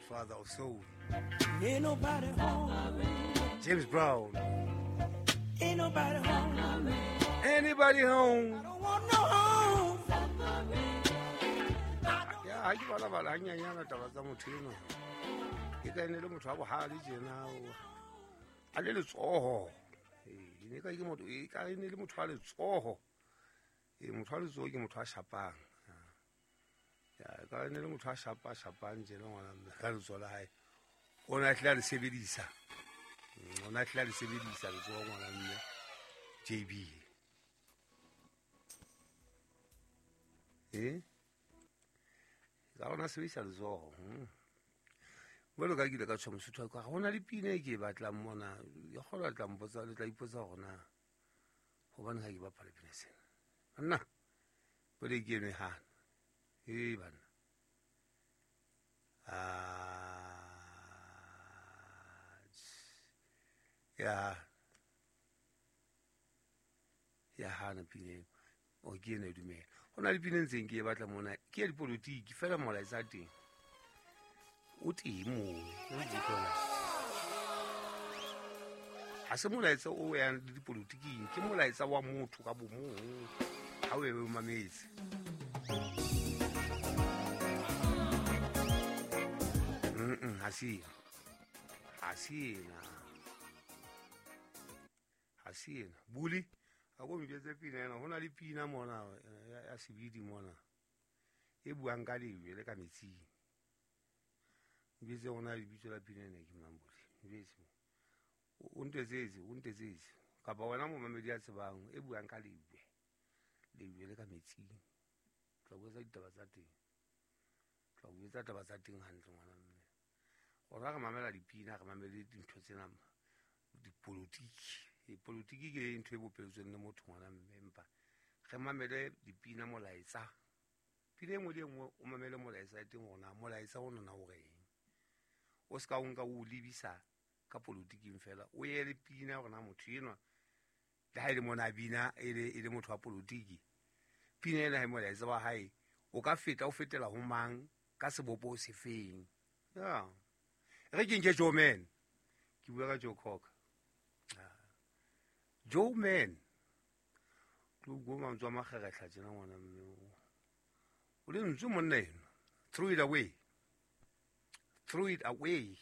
Godfather of Soul. Ain't nobody home. James Brown. Ain't nobody home. Anybody home? I don't want no home. Ya ha ke bala bala hanyanyana taba tsa motho enwa. Ke ka ene le motho wa bohale tjena a le letsoho. Ee, ne ka ke motho e ka ene le motho wa letsoho. Ee, motho wa letsoho ke motho a shapang. Ya ka ene le motho a shapa shapang tjena ngwana mme ka letsoho la hae. O ne a hlile a le sebedisa. O ne a hlile a le sebedisa letsoho ngwana mme JB. Eh? Ka ona sebedisa letsoho. Jwalo ka ke ile ka tjho Mosotho ka ho na le pina e ke e batlang mona. Ya kgolwa le tla mpotsa, le tla ipotsa hore na hobane ha ke bapala pina sena. Nna pele ke eno e hana. Ee banna. Ya ya hana pina eno. O ke eno e dumela. Ho na le pina e ntseng ke e batla mona. Ke ya dipolotiki fela molaetsa teng. O teng moo, o utlwa. Ha se molaetsa o yang le dipolotiking, ke molaetsa wa motho ka bomong. Ha o e o mametse. Ha se ena. Ha se ena. Ha se ena. Buli, ha ko mpetse pina ena. Ho na le pina mona ya sebidi mona. E buang ka lejwe le ka metsing. Mpetse hona lebitso la pina ena ke mang Buli? Mpetse. O ntetsetse, o ntetsetse. Kapa wena momamedi ya tsebang e buang ka lejwe. Lejwe le ka metsing. Tla bua ditaba tsa teng. Tla bua taba tsa teng hantle ngwana mme. Rona re mamela dipina, re mamele dintho tsena dipolotiki. Dipolotiki ke ntho e bopetsweng le motho ngwana mme, empa re mamele dipina molaetsa. Pina e nngwe le e nngwe o mamele molaetsa ya teng hore na molaetsa ona na o reng. O ska o nka o lebisa ka polotiking fela. O ye le pina hore na motho enwa le ha e le mona a bina e le motho wa polotiki. Pina ena ha e molaetsa wa hae o ka feta o fetela ho mang ka sebopo se feng. Ya. Re ke nke Joe Man. Ke bua ka Joe Cocker. Joe Man. Ke bua mantswe a makgeretlha tjena ngwana mme. O le ntswe monna eno. Throw it away. Throw it away.